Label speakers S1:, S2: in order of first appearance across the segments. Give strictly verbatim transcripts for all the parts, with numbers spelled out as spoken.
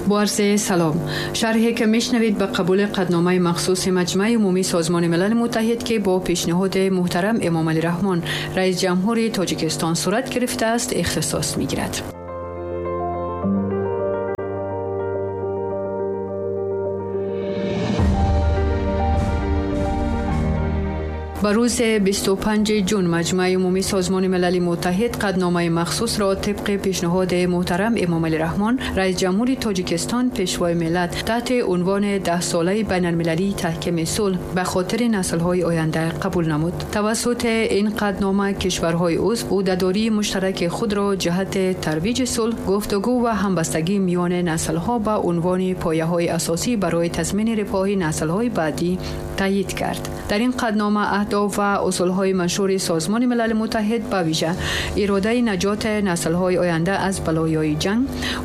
S1: Бо арзи салом. Шарҳе ки мешнавед ба қабули қадномаи махсуси Маҷмаи умумии Созмони Милали Муттаҳид, ки бо пешниҳоди муҳтарам Эмомалӣ Раҳмон, раис ҷумҳури Тоҷикистон сурат гирифтааст, ихтисос мегирад. Ба рӯзи бисту панҷуми ҷун Маҷмаи умумии Созмони Милали Муттаҳид қадномаи махсусро тибқи пешниҳоди муҳтарам Эмомалӣ Раҳмон, раис ҷумҳури Тоҷикистон, пешвои миллат, таҳти унвони даҳсолаи байналмилалии таҳкими сулҳ ба хотири наслҳои оянда қабул намуд. Тавассути ин қаднома кишварҳои узв ӯҳдадории муштараки худро ҷиҳати тарвиҷи сулҳ, гуфтугӯ ва ҳамбастагӣ миёни наслҳо ба унвони пояҳои асосӣ барои тазмини рифоҳи наслҳои баъдӣ таъйид кард. Дар ин қаднома аҳдоф ва усулҳои маншури Созмони Милали Муттаҳид, ба вижа иродаи наҷоти наслҳои оянда аз балоёи ҷанг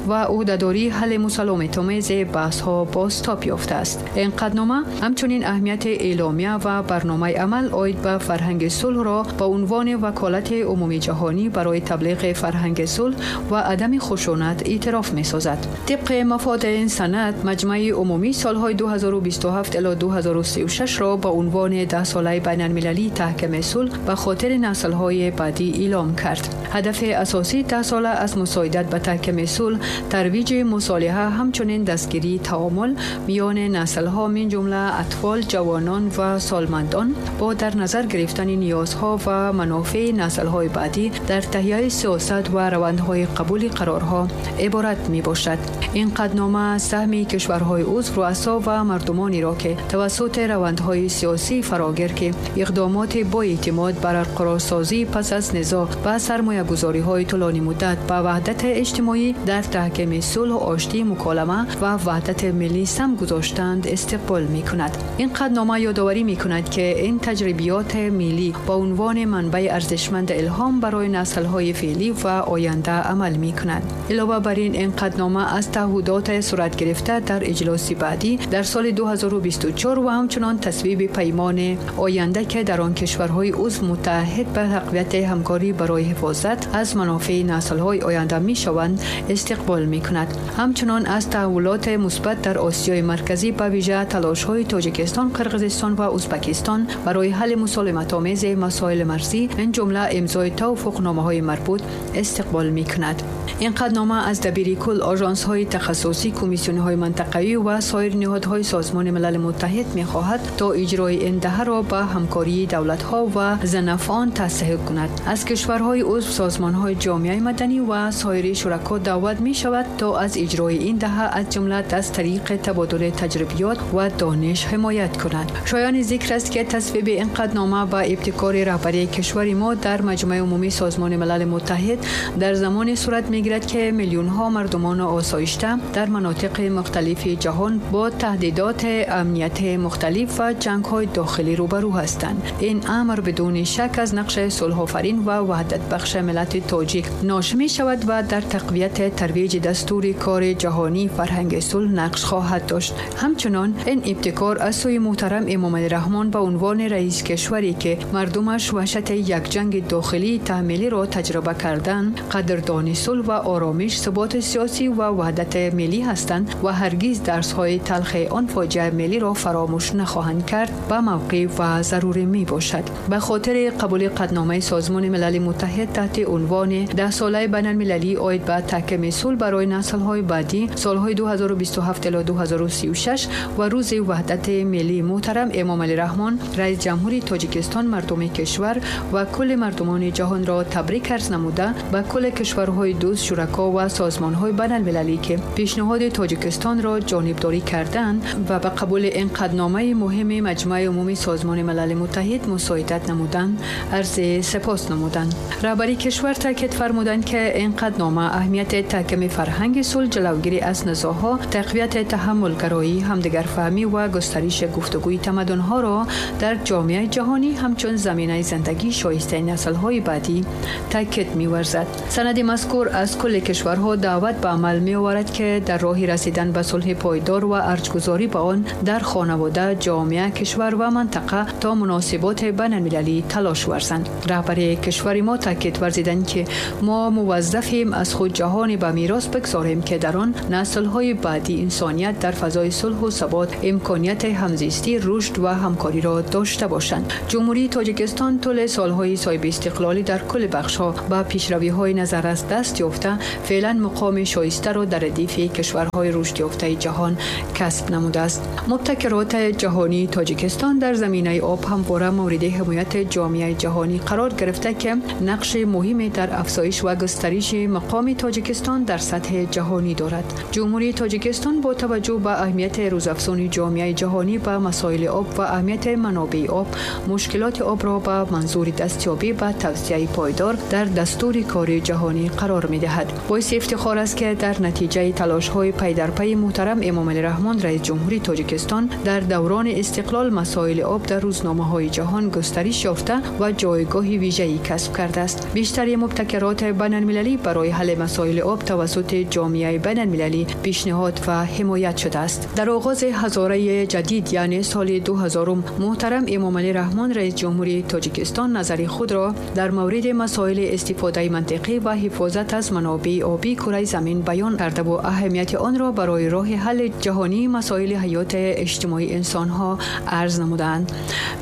S1: ва ӯҳдадории ҳалли мусаломатомези баҳсҳо бозтоб ёфтааст. Ин қаднома ҳамчунин аҳамияти эъломия ва барномаи амал оид ба фарҳанги сулҳро ба унвони ваколати умумии ҷаҳонӣ барои таблиғи фарҳанги сулҳ ва адами хушунат эътироф месозад. Тибқи мафоди ин санад, Маҷмаи умумӣ солҳои ду ҳазору бисту ҳафт ила ду ҳазору сию шаш ро ба унвони даҳсолаи байналмилалии таҳкими сулҳ ба хотири наслҳои баъдӣ эълом кард. Ҳадафи асосии даҳсола аз мусоидат ба таҳкими сулҳ, тарвиҷи мусолиҳа, ҳамчунин дастгирии таомул миёни наслҳо, мин ҷумла атфол, ҷавонон ва солмандон, бо дар назар гирифтани ниёзҳо ва манофеи наслҳои баъдӣ дар таҳияи сиёсат ва равандҳои қабули қарорҳо иборат мебошад. Ин қаднома саҳми кишварҳои узв, руасо ва мардумонеро, ки тавассути равандҳои сиёсии фарогир, ки иқдомоти бо эътимод барқарорсозӣ пас аз низоъ ва сармоягузориҳои тӯлонӣ муддат ба ваҳдати иҷтимоӣ дар таҳкими сулҳ, оштӣ, муколама ва ваҳдати миллӣ сам гузоштанд, истиқбол мекунад. Ин қаднома ёдоварӣ мекунад, ки ин таҷрибиёти миллӣ ба унвони манбаи арзишманд илҳом барои наслҳои феълӣ ва оянда амал мекунад. Илова бар ин, ин қаднома аз таҳудоти сурат гирифта дар иҷлоси баъдӣ дар соли ду ҳазору бисту чор ва ҳамчунон тасвиби паймони оянда, ки дар он кишварҳои узв муттаҳид ба тақвияти ҳамкорӣ барои ҳифозат аз манофеи наслҳои оянда мешаванд, истиқбол мекунад. Ҳамчунон аз таҳаввулоти мусбат дар Осиёи Марказӣ, ба вижа талошҳои Тоҷикистон, Қирғизистон ва Ӯзбекистон барои ҳалли мусолиматомези масоили марзӣ, ин ҷумла имзои тавофуқномаҳои марбут, истиқбол мекунад. Ин қаднома аз дабири кул, ожансҳои тахассусӣ, комиссионҳои мантақавӣ ва соир ниҳодҳои Созмони Милали Муттаҳид мехоҳад то иҷрои ин даҳаро ба ҳамкории давлатҳо ва занафон тасҳиҳ кунад. Аз кишварҳои узв, созмонҳои ҷомеаи маданӣ ва соири шурако даъват мешавад то аз иҷрои ин даҳа, аз ҷумла аз тариқи табодули таҷрибиёт ва дониш, ҳимоят кунад. Шоёни зикр аст, ки тасвиби ин қаднома ба ибтикори раҳбарии кишвари мо дар Маҷмаи умумии Созмони Милали Муттаҳид дар замоне сурат мегирад, ки миллионҳо мардумони осоишта дар манотиқи мухталифи ҷаҳон бо таҳдидоти амнияти мухталиф ва ҷангҳои дохилӣ рӯбарӯ ҳастанд. Ин амр бидуни шак аз нақши сулҳофарин ва ваҳдатбахши миллати тоҷик ноши мешавад ва дар тақвияти тарвиҷи дастури кори ҷаҳонии фарҳанги сулҳ нақш хоҳад дошт. Ҳамчунон ин ибтикор аз сӯи муҳтарам Эмомалӣ Раҳмон ба унвони раис кишваре, ки мардумаш ваҳшати як ҷанги дохилии таҳмилиро таҷриба карданд, қадрдони сулҳ ва оромиш, суботи сиёсӣ ва ваҳдати миллӣ ҳастанд ва ҳаргиз дарсҳои талхи он фоҷиаи миллиро фаромӯш нахоҳанд кард, ба мавқеъ ва зарурӣ мебошад. Ба хотири қабули қадномаи Созмони Милали Муттаҳид таҳти унвони даҳсолаи байналмилалии оид ба таҳкими сулҳ барои наслҳои баъдӣ солҳои ду ҳазору бисту ҳафт ила ду ҳазору сию шаш ва рӯзи ваҳдати миллии муҳтарам Эмомалӣ Раҳмон, раис ҷумҳури Тоҷикистон, мардуми кишвар ва кулли мардумони ҷаҳонро табрик арз намуда, ба кулли кишварҳои дӯст, шурако ва созмонҳои байналмилалӣ, ки пешниҳоди Тоҷикистонро ҷонибдорӣ карданд ва ба қабули ин қадномаи муҳими Маҷмаи умумии Созмони Милали Муттаҳид мусоидат намуданд, арзи сипос намуданд. Раҳбари кишвар таъкид фармуданд, ки ин қаднома аҳамияти таҳкими фарҳанги сулҳ, ҷилавгирӣ аз низоъҳо, тақвияти таҳаммулгароӣ, ҳамдигарфаҳмӣ ва густариши гуфтугӯи тамаддунҳоро дар ҷомеаи ҷаҳонӣ ҳамчун заминаи зиндагии шоистаи наслҳои баъдӣ таъкид меварзад. Санади мазкур аз кулли кишварҳо даъват ба амал меоварад, ки дар роҳи расидан ба сулҳи пойдор ва арҷгузорӣ ба он дар хонавода, ҷомеа, кишвар ва мантақа то муносиб مناسبات بین المللی تلاش ورزند. رهبر کشور ما تاکید ورزیدند که ما موظفیم از خود جهانی به میراث بگذاریم که در آن نسل‌های بعدی انسانیت در فضای صلح و ثبات امکانیت همزیستی، رشد و همکاری را داشته باشند. جمهوری تاجیکستان طول سالهای صاحب استقلالی در کل بخش‌ها با پیشروی‌های نظررس دست یافته، فعلا مقام شایسته را در ردیف کشورهای رشد یافته جهان کسب نموده است. مبتکرات جهانی تاجیکستان در زمینه آب همواره مورد حمایت جامعه جهانی قرار گرفته که نقش مهمی در افزایش و گسترش مقام تاجیکستان در سطح جهانی دارد. جمهوری تاجیکستان با توجه به اهمیت روزافزون جامعه جهانی به مسائل آب و اهمیت منابع آب، مشکلات آب را به منظور دستیابی به توسعه پایدار در دستور کار جهانی قرار می‌دهد. باعث افتخار است که در نتیجه تلاش‌های پی در پی محترم امامعلی رحمان رئیس جمهوری تاجیکستان در دوران استقلال مسائل آب در روزنامه‌های جهان گسترش یافته و جایگاه ویژه‌ای کسب کرده است. بیشتر مبتکرات بین‌المللی برای حل مسائل آب توسط جامعه بین‌المللی پیشنهاد و حمایت شده است. در آغاز هزاره جدید یعنی سال دو هزار محترم امامعلی رحمان رئیس جمهوری تاجیکستان نظر خود را در مورد مسائل استفاده منطقی و حفاظت از منابع آبی کره زمین بیان کرده و اهمیت آن را برای راه حل جهانی مسائل حیات اجتماعی انسان‌ها عرض نمودند.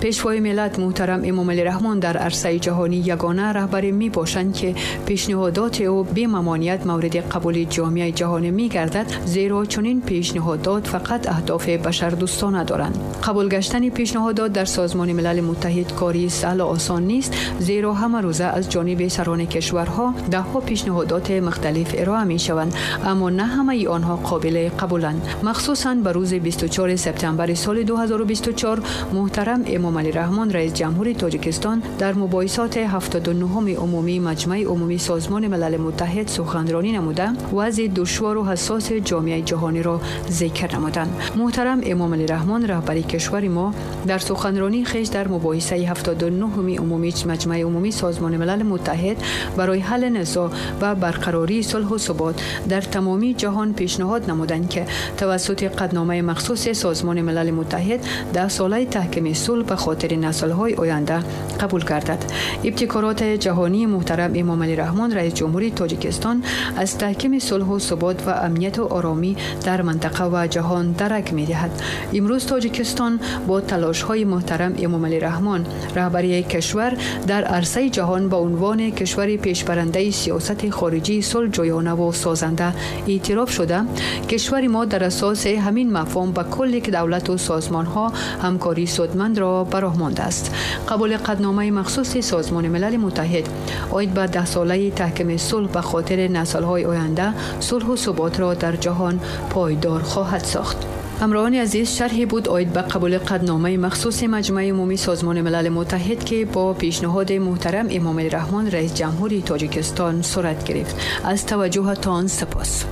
S1: پیشوای ملت محترم امامعلی رحمان در عرصه جهانی یگانه رهبر می باشند که پیشنهادات او بی ممانعت مورد قبول جامعه جهانی می گردد، زیرا چنین پیشنهادات فقط اهداف بشردوستانه دارند. قبول گشتن پیشنهادات در سازمان ملل متحد کاری سهل و آسان نیست، زیرا همه روزه از جانب سران کشورها ده ها پیشنهادات مختلف ارائه می شوند، اما نه همه آنها قابل قبولند. مخصوصاً به روز بیست و چهارم سپتامبر سال دو هزار و بیست و چهار محترم امامعلی رحمان رئیس جمهوری تاجیکستان در مباحثات هفتاد و نهم عمومی مجمع عمومی سازمان ملل متحد سخنرانی نموده وضع دشوار و حساس جامعه جهانی را ذکر نمودند. محترم امامعلی رحمان رهبر کشور ما در سخنرانی خویش در مباحثه هفتاد و نهم عمومی مجمع عمومی سازمان ملل متحد برای حل نزاع و برقراری صلح و ثبات در تمامی جهان پیشنهاد نمودند که توسط قدنامه مخصوص سازمان ملل متحد ده ساله تحکیم صلح به خاطر نسل‌های آینده قبول گردد. ابتکارات جهانی محترم امامعلی رحمان رئیس جمهوری تاجیکستان از تحکیم صلح و ثبات و امنیت و آرامی در منطقه و جهان درک می‌دهد. امروز تاجیکستان با تلاش‌های محترم امامعلی رحمان رهبری کشور در عرصه جهان به عنوان کشور پیشبرنده سیاست خارجی صلح جویانه و سازنده اعتراف شده، کشور ما در اساس همین مفهوم با کل دولت و سازمان‌ها همکاری سودمند را براه مانده است. قبول قدنامه مخصوص سازمان ملل متحد عاید به ده ساله تحکیم صلح به خاطر نسل‌های آینده صلح و ثبات را در جهان پایدار خواهد ساخت. همراهان عزیز، شرحی بود عاید به قبول قدنامه مخصوص مجمع عمومی سازمان ملل متحد که با پیشنهاد محترم امامعلی رحمان رئیس جمهوری تاجیکستان صورت گرفت. از توجهتان سپاس.